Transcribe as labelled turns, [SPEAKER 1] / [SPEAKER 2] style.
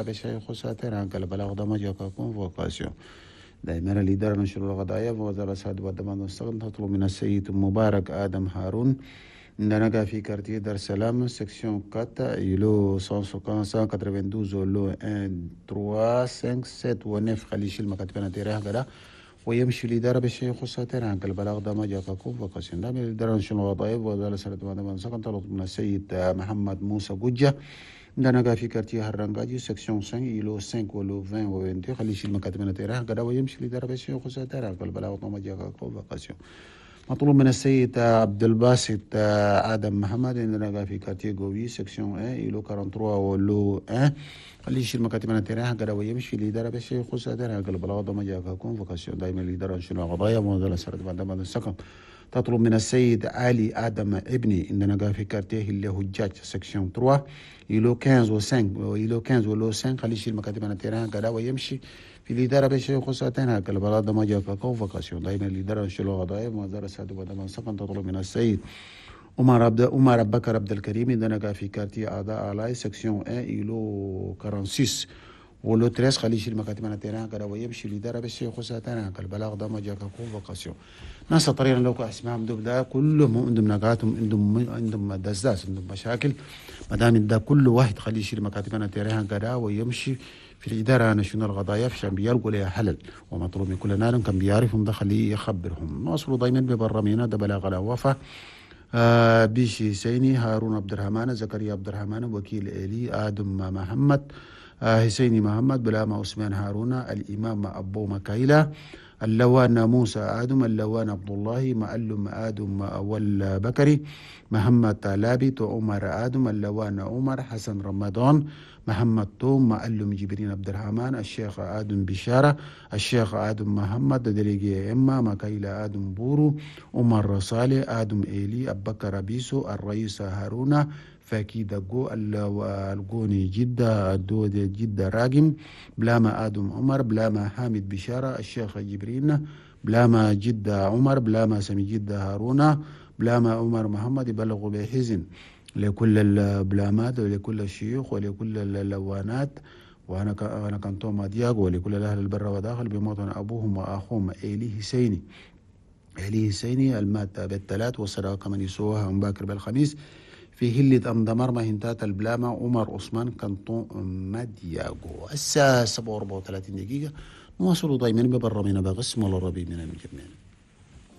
[SPEAKER 1] بشيخ ساتر البلاغ دمجة convocation. دائما الإدارة نشر القضايا ووزارة سعد والدمان والسقن تطلب من السيد مبارك آدم هارون عندنا في quartier دار السلام section 4 îlot 192 lot 1 3 5 7 و 9 خلي يشيل مكاتبنا تيراه كده ويمشي الإدارة بالشيخ ساتر البلاغ دمجة convocation. دائما الإدارة نشر القضايا ووزارة سعد والدمان والسقن تطلب من السيد محمد موسى جوجة عندنا في quartier هرنجاجي section 5 îlot 5 و lot 20 و 22 خلي يشيل مكاتبنا تيراه كده ويمشي الإدارة بالشيخ ساتر البلاغ دمجة convocation. مطلوب من السيد عبد الباسط آدم محمد عندنا في quartier غوي section 1 îlot 43 و lot 1 خلي يشيل مكاتبنا تيراه كده ويمشي الإدارة بالشيخ ساتر البلاغ دمجة convocation. دائما الإدارة شنو قضايا موزلة سرد بعد السكن تطلب من السيد علي آدم ابني عندنا في quartier اللي هجاج section 3 îlot 15 و 5 îlot 15 و lot 5 خلي يشيل مكاتبنا تيران كذا ويمشي في الإدارة بشيء خصوصا هكذا البلاد ما جاء convocation. دائما الإدارة شنو قضايا موزلة سرد بعد السكن تطلب من السيد عمر بكر عبد الكريم عندنا في quartier أعضاء علاي section 1 îlot 46 و lot 13 خلي يشيل مكاتبنا تيران كذا ويمشي الإدارة بشيء خصوصا هكذا البلاغ ده ما جاء convocation. ناس طريقة لو اسمهم دوب ده كلهم عندهم نقاتهم عندهم دزاز عندهم مشاكل ما دام ده كل واحد خليه يشيل مكاتبنا تيران كذا ويمشي في الإدارة نشون القضايا عشان بيلقوا لها حلل ومطلوب من كل نار كان بيعرفهم ده خليه يخبرهم. نواصلوا دايما ببرامجنا ده بلاغ الوفا بيشي سيني هارون عبد الرحمن زكريا عبد الرحمن وكيل إلي آدم محمد حسيني محمد بلاما عثمان هارون الإمام أبو مكايلة اللوان موسى آدم اللوان عبد الله معلم آدم أول بكري محمد تالابي عمر آدم اللوان عمر حسن رمضان محمد توم معلم جبرين عبد الرحمن الشيخ آدم بشارة الشيخ آدم محمد دريجي إما مكايلة آدم بورو عمر صالح آدم إيلي أبكر بيسو الرئيس هارون فاكي دقو الجوني جدة الدود جدة راجم بلاما آدم عمر بلاما حامد بشارة الشيخ جبرين بلاما جدة عمر بلاما سمي جدة هارون بلاما عمر محمد يبلغوا بحزن لكل البلامات ولكل الشيوخ ولكل اللوانات وأنا كنتوما دياغو ولكل الأهل البر وداخل بموطن أبوهم وأخوهم إيلي حسيني إيلي حسيني المات بالثلاث والصداقة من يسوها مباكر بالخميس في هلة أمدمر مهنتات البلامة عمر عثمان كانتون مادياغو. الساعة 7:34 نواصل دايما ببرامجنا بقسم الربي من المجمعين.